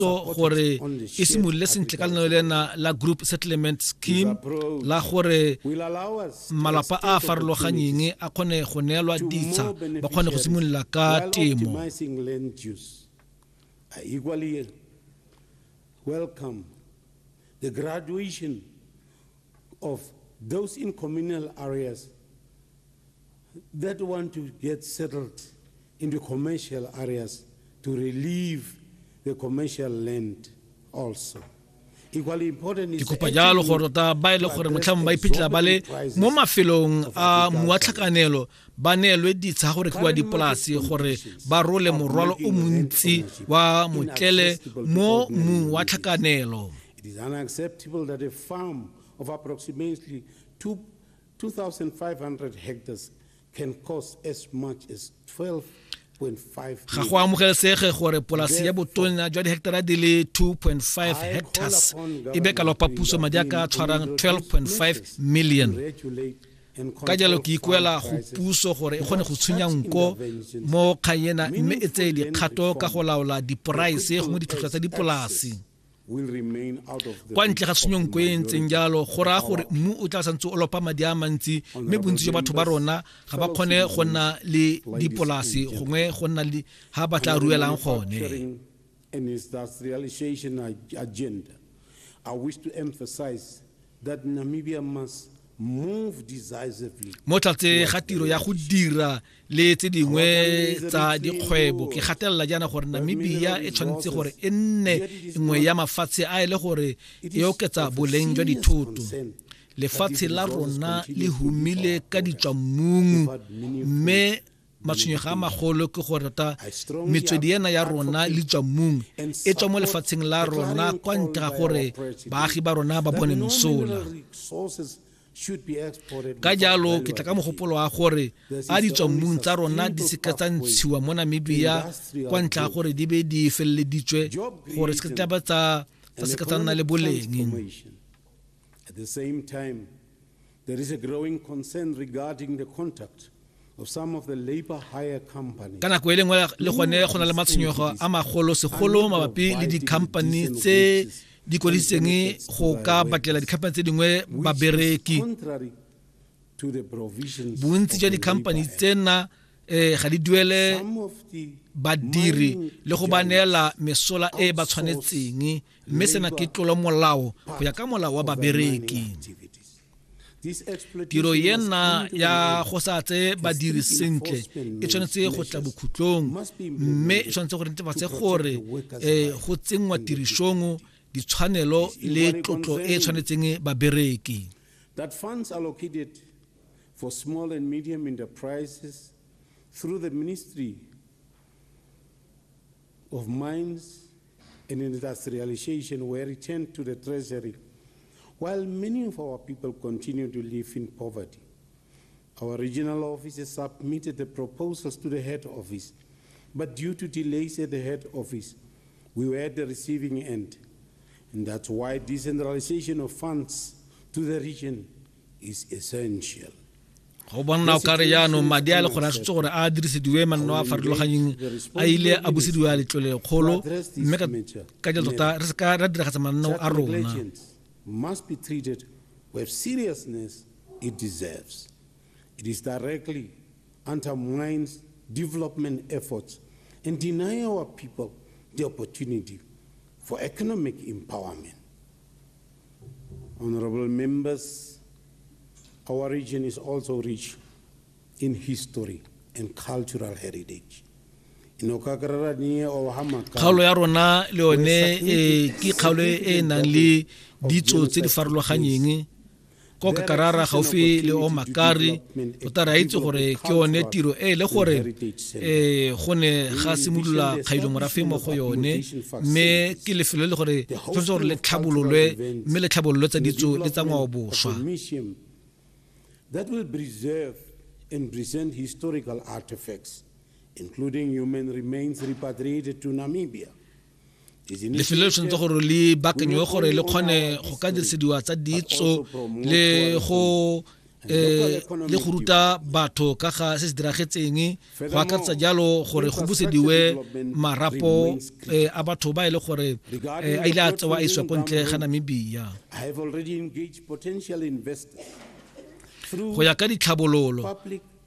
Gore e simolole sentle ka lenaneo lena la Group Settlement Scheme la gore malapa a a farologanyeng a kgone go neelwa ditsha, ba kgone go simolola ka temo. I equally welcome the graduation of those in communal areas that want to get settled in the commercial areas to relieve the commercial land also. Ke kopa jalo gore tota ba e le gore motlhang ba iphitlhela ba le mo mafelong a moatlhakanelo ba neelwe ditsha go rekiwa dipolase gore ba role morwalo o montsi wa motlele mo mmung wa tlhakanelo. It is unacceptable that a farm of approximately 2,500 hectares can cost as much as 12. Ga go amogelesege gore polasi ya botona jwa diheketara di le 2.5 hectares e be ka lopa puso madi a ka tshwarang 12.5 million. Ka jalo ke ikuela go puso gore e kgone go tshunya nko mo kgang ena mme e tseye dikgato ka go laola diporaese gongwe ditlhotlhwa tsa dipolasi. Kwa ntle ga tshenyonko e ntseng jalo, go raya gore mmu o tla santse o lopa madi a mantsi, mme bontsi jwa batho ba rona ga ba kgone go nna le dipolasi gongwe go nna le ha ba tla ruelang gone. I wish to emphasize that Namibia must move decisively. Mo tlatse ga tiro ya go dira le tse dingwe tsa dikgwebo, ke gatelela jaana gore Namibia e tshwanetse gore e nne nngwe ya mafatshe a e le gore e oketsa boleng jwa dithoto. Lefatshe la rona le humile ka ditswammung, mme matshwenyego a magolo ke gore tota metswedi ena ya rona le tswa mmung e tswa mo lefatsheng la rona kwa ntle ga gore baagi ba rona ba bone mosola. Ka jalo ke tla ka mogopolo wa gore a ditswammung tsa rona di seka tsa ntshiwa mo Namibia kwa ntle ga gore di be di feleleditswe, gore se tla ba tsa seka tsa nna le boleng. At the same time, there is a growing concern regarding the conduct of some of the labor hire companies. Ka nako e lengwe le gone go na le matshwenyego a magolo, segolo mabapi le di-company tse di kwadisitseng go ka batlela di-company tse dingwe babereki. Bontsi jwa di-company tsena ga di duele badiri le go ba neela mesola e ba tshwanetseng, mme sena ke tlolo molao go ya ka molao wa babereki. Tiro ena ya go sa tse badiri sentle e tshwanetse go tla bokhutlong, mme e tshwanetse go netefatse gore go tsenngwa tirisong ditshwanelo le tlotlo e tshwanetseng babereki. That funds allocated for small and medium enterprises through the Ministry of Mines and Industrialization were returned to the Treasury, while many of our people continue to live in poverty. Our regional offices submitted the proposals to the head office, but due to delays at the head office, we were at the receiving end. And that's why decentralization of funds to the region is essential. Go bona o kare jaanong madi a le gore a tshwanetse gore a dirisediwe manno a farologanyeng a ile a busediwa letlolekgolo, mme ka jalo tota re se ka ra diragatsa mananeo a rona. Must be treated with seriousness it deserves. It is directly undermines development efforts and deny our people the opportunity for economic empowerment. Honorable members, our region is also rich in history and cultural heritage. Kgaolo ya rona le yone ke kgaolo e e nang le ditso tse di farologanyeng. Ko Kakarara gaufi le Omakari, tota re a itse gore ke yone tiro e le gore go ne ga simolola kgailo morafe mo go yone, mme ke lefelo le gore tshwanetse gore le tlhabololwe, mme le tlhabololwe tsa ditso le tsa ngwaoboswa. That will preserve and present historical artifacts, including human remains repatriated to Namibia. Lefelo le tshwanetse gore le baakanywe gore le kgone go ka dirisediwa tsa ditso le go Le go ruta batho ka ga se se diragetseng, go akaretsa jalo gore go busediwe marapo a batho ba e le gore a ile a tsewa a isiwa ko ntle ga Namibia. Go ya ka ditlhabololo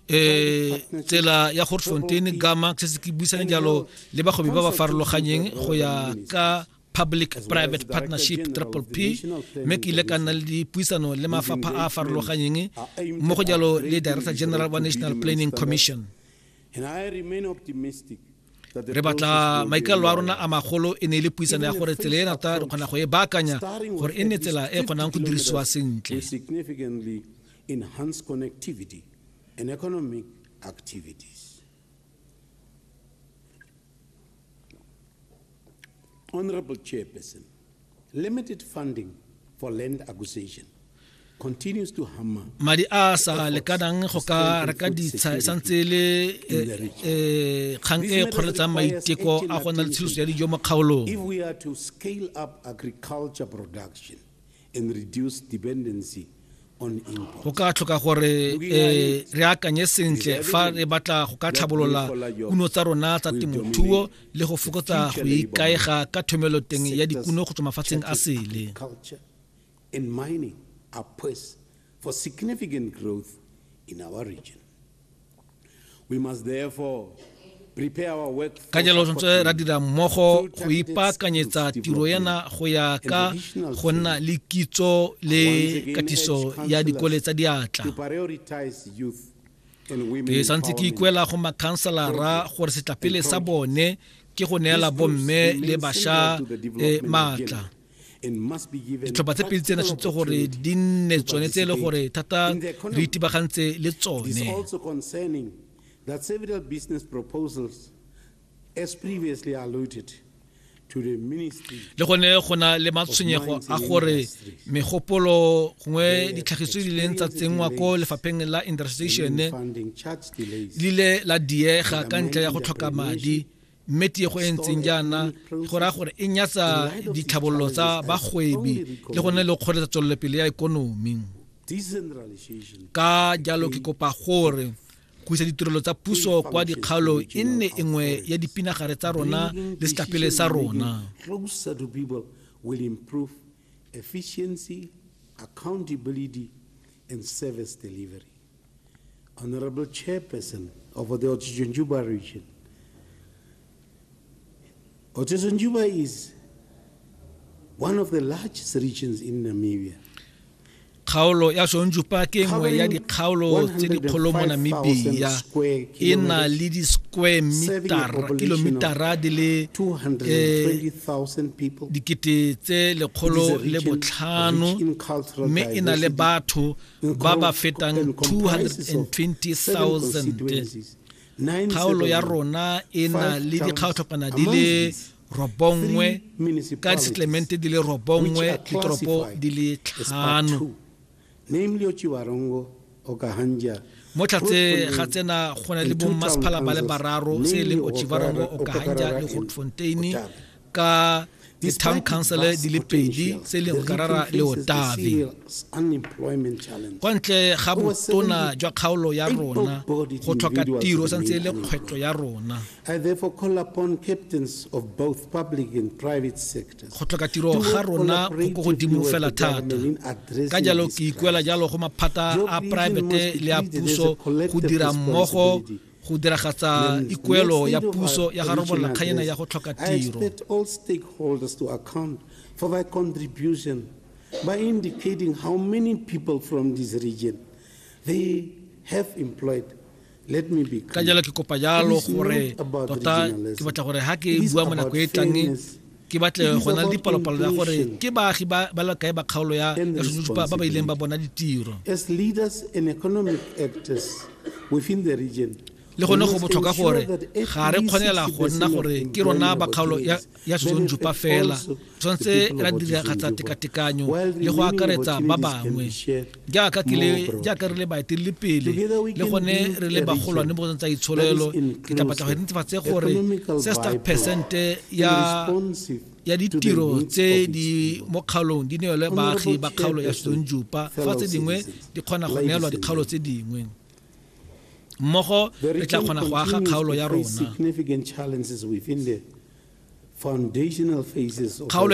tsela ya Grootfontein Gama, se se ke buisane jalo le bagwebi ba ba farologanyeng go ya ka public private partnership, triple P, mme ke ile ka nna le dipuisano le mafapha a a farologanyeng mmogo jalo le Director General wa National Planning Commission. Re batla maikaelelo a rona a magolo e ne e le puisano ya gore tsela e rata re kgona go e baakanya gore e nne tsela e kgonang go dirisiwa sentle. Enhance connectivity and economic activities. Honorable Chairperson, limited funding for land acquisition continues to hammer Madi a sa lekanang go ka reka ditsha e santse le kgang e kgoreletsang maiteko a go nna le tshireletso ya dijo mo kgaolong. If we are to scale up agriculture production and reduce dependency on imports. Go ka tlhoka gore re akanye sentle fa re batla go ka tlhabolola kuno tsa rona tsa temothuo le go fokotsa go ikaega ka thomeloteng ya dikuno go tswa mafatsheng a sele. Agriculture and mining are poised for significant growth in our region. We must therefore prepare our workforce Ka jalo tshwanetse ra dira mmogo go ipaakanyetsa tiro ena go ya ka go nna le kitso le katiso ya dikole tsa diatla. to prioritize youth and women Ke santse ke empowerment. ikuela go makhanselara gore setlapele sa bone ke go neela bomme le bašwa maatla. And must be given Ditlhopha tse pedi tsena tshwanetse gore di nne tsone tse e le gore thata re itebagantse le It is tsone. also concerning that several business proposals, as previously alluded to the ministry, Le gone go na le matshwenyego a gore megopolo gongwe ditlhagiso di ileng tsa tsenngwa ko lefapheng la industrialization in funding charge delays, di ile la diega ka ntlha ya go tlhoka madi, mme tiego e ntseng jaana go raya gore e nyatsa ditlhabololo tsa bagwebi le gone le kgoreletsa tswelelopele ya ikonomi. Decentralization Ka jalo ke kopa gore go isa ditirelo tsa puso kwa dikgaolong e nne e nngwe ya dipinagare tsa rona bringing le setlapele sa decision-making rona. closer to people will improve efficiency, accountability, and service delivery. Honorable Chairperson of the Otjozondjupa region, Otjozondjupa is one of the largest regions in Namibia. Kgaolo ya Otjozondjupa ke nngwe ya dikgaolo tse dikgolo mo Namibia, e na le di-square metara kilometara di le 220,000 people. 105,000, mme e na le batho ba ba fetang 220,000. Kgaolo ya rona e na le dikgaotlhopana di le 9, ka disettlemente di le 9, ditoropo di le 5. Namely Otjiwarongo, Okahandja, Mo tlhatse ga tsena go na le bommasepala ba le bararo, se e leng Otjiwarongo, Okahandja le Grootfontein, ka di-town council di le pedi, se e leng Okarara le Otavi. Kwa ntle ga botona jwa kgaolo ya rona, go tlhoka tiro santse e le kgwetlho ya rona. I therefore call upon captains of both public and private sectors Go tlhoka tiro ga rona go ko godimo fela thata, ka jalo ke ikuela jalo go maphata a poraefete le a puso go dira mmogo go diragatsa ikuelo ya puso ya ga robolola kganyana ya go tlhoka I tiro. expect all stakeholders to account for their contribution by indicating how many people from this region they have employed. Let me be Ka clear. jalo ke kopa jalo It is gore not about tota regionalism. ke batla gore ha ke It is bua mo nako about e tlang fairness. ke batle It is go na le about dipalopalo ya gore inclusion ke baagi ba le kae ba kgaolo ya and ya Otjozondjupa ba ba ileng ba bona ditiro. As leaders and economic actors within the region, Le gone go botlhokwa gore ga re kgonela go nna gore ke rona ba kgaolo ya Otjozondjupa fela, tshwanetse ra diragatsa tekatekanyo le go akaretsa ba bangwe. Jaaka ke le jaaka re le baeteledipele le gone re le bagolwane mo go tsa itsholelo, ke tla batla go netefatse gore 65 percent ya ya ditiro tse di mo kgaolong di neelwe baagi ba kgaolo ya Otjozondjupa, fa tse dingwe di kgona go neelwa dikgaolo tse dingwe. Mmogo re tla kgona go aga kgaolo ya rona. Kgaolo